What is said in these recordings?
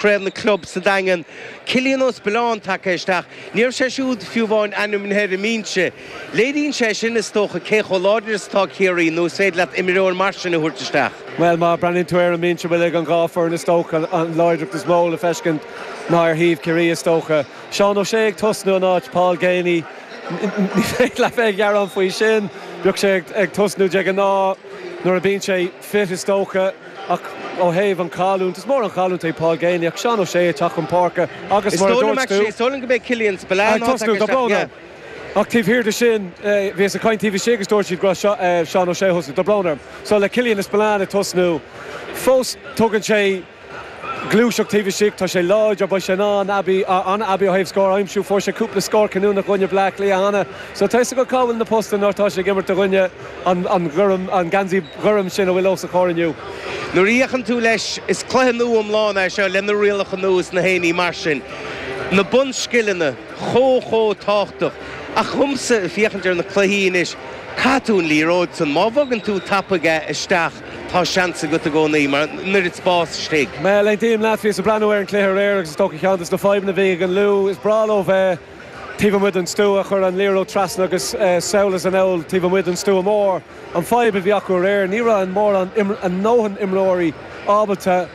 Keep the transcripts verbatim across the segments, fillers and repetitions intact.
Craobh na Club sa Daingean. Cillian Ó Spilláin tagtha isteach. Ní raibh sé siúd fiú amháin ainmnithe ar an mbinse. Léiríonn sé sin is dócha cé chomh láidir is atá Ciarraí nó is féidir leat imreoir mar sin a thabhairt isteach. Bhuel má breathnaíonn tú ar an mbinse a bhfuil ag an dhá foireann is dócha an láidreacht is mó le feiscint ná ar thaobh Ciarraí is dócha. Seán O'Shea ag tosnú in áit Paul Geaney. Ní féidir leat bheith ag gearán faoi sin, bíodh sé ag tosnú de ghnáth nuair a bíonn sé fit is dócha ach ó thaobh an chailliúint is mór an chailliúint é Paul Geaney ach Seán O'Shea ag teacht chun páirce agus mar a dúirt tú. Is dóigh liom go mbeidh Cillian Spillane ag tosnú tá brón orm. Ach taobh thiar de sin bhíos ag caint taobh istigh agus dúirt siad go raibh Seán O'Shea ag tosnú. Tá brón orm. So le Cillian Spillane ag tosnú fós tugann sé gluaiseacht taobh istigh, tá sé láidir, beidh sé in ann aibí, an-aibí ó thaobh scór a aimsiú, fuair sé cúpla scór cinniúnach i gcoinne Bleá Cliath cheana, so tá fhios agat cá bhfuil na postanna nuair atá sé ag imirt i gcoinne an, an ghorm, an geansaí ghorm sin a bhfuil os a chomhair inniu. Nuair a fhéachann tú leis, is cluiche nua iomlán é seo le na rialacha nua is na haon ní mar sin. Na bunscileanna chomh chomh tábhachtach. Ach dhomsa, ag féachaint ar na cluichí anois, caithfidh tú an liathróid san, má bhogann tú tapaidh é isteach, tá seans agat i gcónaí, mar an oiread spás istigh. Bhuel, aontaím leat, bhíos ag breathnú ar an cluiche aréir agus is dócha ceann de na fadhbanna a bhí ag an Lú, is breá leo bheith taobh amuigh den stua, chur an liathróid trasna agus sall is anall taobh amuigh den stua mór. An fadhb a bhí acu aréir, ní raibh an mórán a ndóthain imreoirí ábalta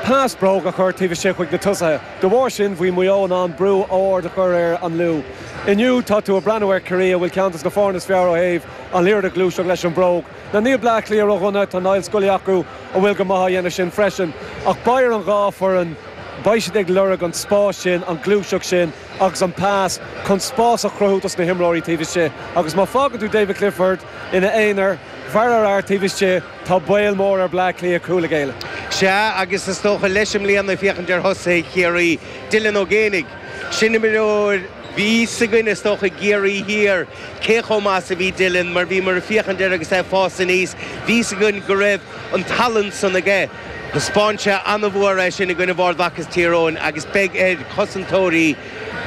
pas bróg a chur taobh istigh chuig na tosaithe. De bharr sin, bhí Maigh Eo in ann brú ard a chur ar an Lú. Inniu, tá tú ag breathnú ar Ciarraí, a bhfuil ceann de na foirne is fearr ó thaobh an liathróid a ghluaiseacht leis an bhróg. Now níl Bleá Cliath ródhona, tá Niall Scully acu a bhfuil go maith á dhéanamh sin freisin. Ach beidh ar an dhá foireann, beidh siad ag lorg an spás sin, an ghluaiseacht sin agus an pas chun spás a chruthú dos na himreoirí taobh istigh. Agus má fágann tú David Clifford ina aonar, fear ar fhear taobh istigh, tá baol mór ar Bleá Cliath cúl a ghéilleadh. Sea, agus is dócha leis i mbliana, féachaint ar thosaithe Chiarraí, Dylan Ó Géibheannaigh, sin imreoir, bhí fhios againn is dócha i gCiarraí Thiar cé chomh maith is a bhí Dylan mar bhíomar ag féachaint air agus é ag fás aníos, bhí fhios againn go raibh an tallann san aige. Thaispeáin sé an-mhór é sin i gcoinne Ard Mhacha is Tír Eoghain agus beidh ar chosantóirí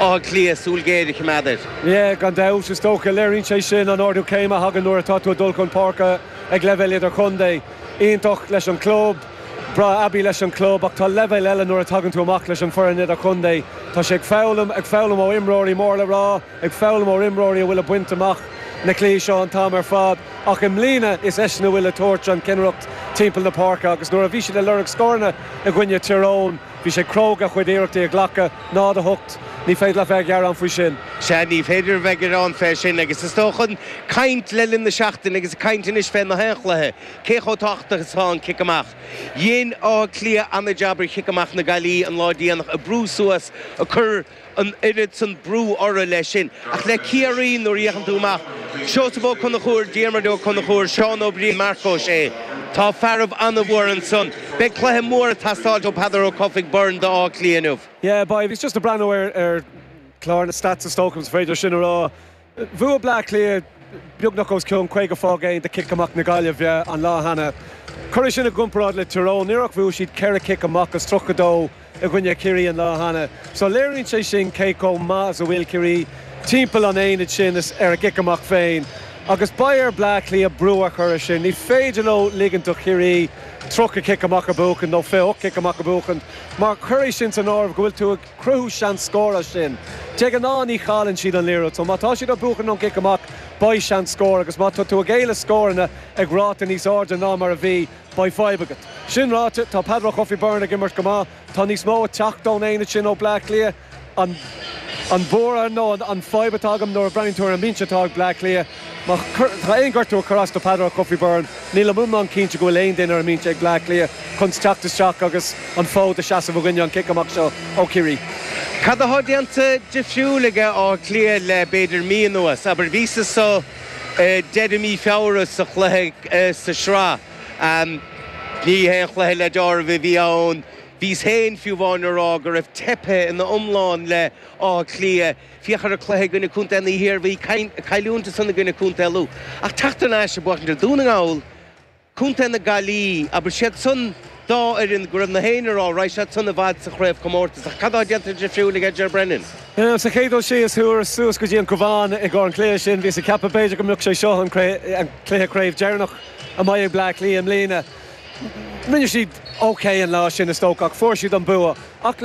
Átha Cliath súil ghéar a choimeád air. Yeah, gan dabht, is dócha. Léiríonn sé sin an ardú céime a thagann nuair atá tú ag dul chun páirce ag leibhéal idirchontae. Iontach leis an club, breá aibí leis an club ach tá leibhéal eile nuair a tagann tú amach leis an foireann idirchontae. Tá sé ag foghlaim, ag foghlaim ó imreoirí mór le rá, ag foghlaim ó imreoirí a bhfuil ag baint amach na cluichí seo an t-am ar fad. Ach i mbliana is eisean a bhfuil ag tabhairt an chinnireacht timpeall na páirce agus nuair a bhí siad ag lorg scóranna i gcoinne Tír Eoghain, bhí sé cróga a chuid iarrachtaí a ghlacadh, náid a hocht, ní féidir leat bheith ag gearán faoi sin. Sea, ní féidir a bheith ag gearán fé sin agus is dócha an caint le linn na seachtaine agus caint anois fé na haon chluiche, cé chomh tábhachtach is atá an cic amach. Dhein Áth Cliath an-jab ar chic amach na Gaillimhe an lá déanach, ag brú suas, ag cur an oiread san brú orthu leis sin. Ach le Ciarraí, nuair a fhéachann tú amach, Seosamh Ó Conchúir, Diarmuid Ó Conchúir, Seán Ó Briain, Marc Ó Sé, tá fearaibh an-mhór ansan. Beidh cluiche mór ag teastáilt ó Peadar Ó Cofaigh Byrne d'Áth Cliath inniu. Yeah, beidh. Bhíos just ag breathnú ar ar chlár na stats is dócha, is féidir sin a rá. Bhuaigh Bleá Cliath beagnach os cionn caoga faoin gcéad de chic amach na Gaillimhe an lá cheana. Cuir é sin i gcomparáid le Tyrone, níor ach bhuaigh siad ceithre chic amach as tríocha dó i gcoinne Chiarraí an lá cheana. So léiríonn sé sin cé chomh maith is a bhfuil Ciarraí timpeall an aonaid sin is ar a gcic amach féin. Agus beidh ar Bleá Cliath brú a chur air sin. Ní féidir leo ligint do Chiarraí tríocha cic amach a bhuachan nó fiche ocht cic amach a bhuachan mar cuir é sin san áireamh go bhfuil tú ag cruthú seans scór as sin. De ghnáth ní chailleann siad an liathróid so má tá siad ag buachan ón gcic amach beidh seans scór agus má tá tú ag géilleadh scóranna ag ráta níos airde ná mar a bhí, beidh fadhb agat. Sin ráite, tá Peadar Ó Cofaigh Byrne ag imirt go maith. Tá níos mó ag teacht ón aonad sin ó Bleá Cliath. An an buaireamh nó an an fadhb atá agam nuair a breathnaíonn tú ar an mbinse atá ag Bleá Cliath, má tá aon ghortú ag cur as do Peadar Ó Cofaigh Byrne, nílim iomlán cinnte go bhfuil aon duine ar an mbinse ag Bleá Cliath chun teacht isteach agus an fód a seasamh i gcoinne an cic amach seo ó Chiarraí. Cad atá déanta difriúil ag Áth Cliath le b'fhéidir mí anuas? Abair, bhíos anso deireadh mí Feabhra sa chluiche sa sraith. Ní haon chluiche le deáramh a bhí ann. Bhíos féin fiú amháin a rá go raibh teipthe ina iomlán le Áth Cliath. Féach ar an cluiche i gcoinne Contae na hIarmhí, cailliúint ansan i gcoinne Contae Lú. Ach teacht thar n-ais ag buachaint ar Dún na nGall, Contae na Gaillimhe, abair siad san dá fhoireann go raibh na héinne a rá raghaidh siad san i bhfad sa chraobhchomórtas. Ach cad atá déanta difriúil ag Ger Brennan? Sa chéad dul síos, chuas suas go dtí an Cabhán i gcomhair an chluiche sin. Bhíos ag ceapadh b'fhéidir go mbeadh sé seo an cluiche craobh deireanach a mbeidh ag Bleá Cliath i mbliana. Rinne siad Ok an lá sin is dócha ach fuair siad an bua ach leis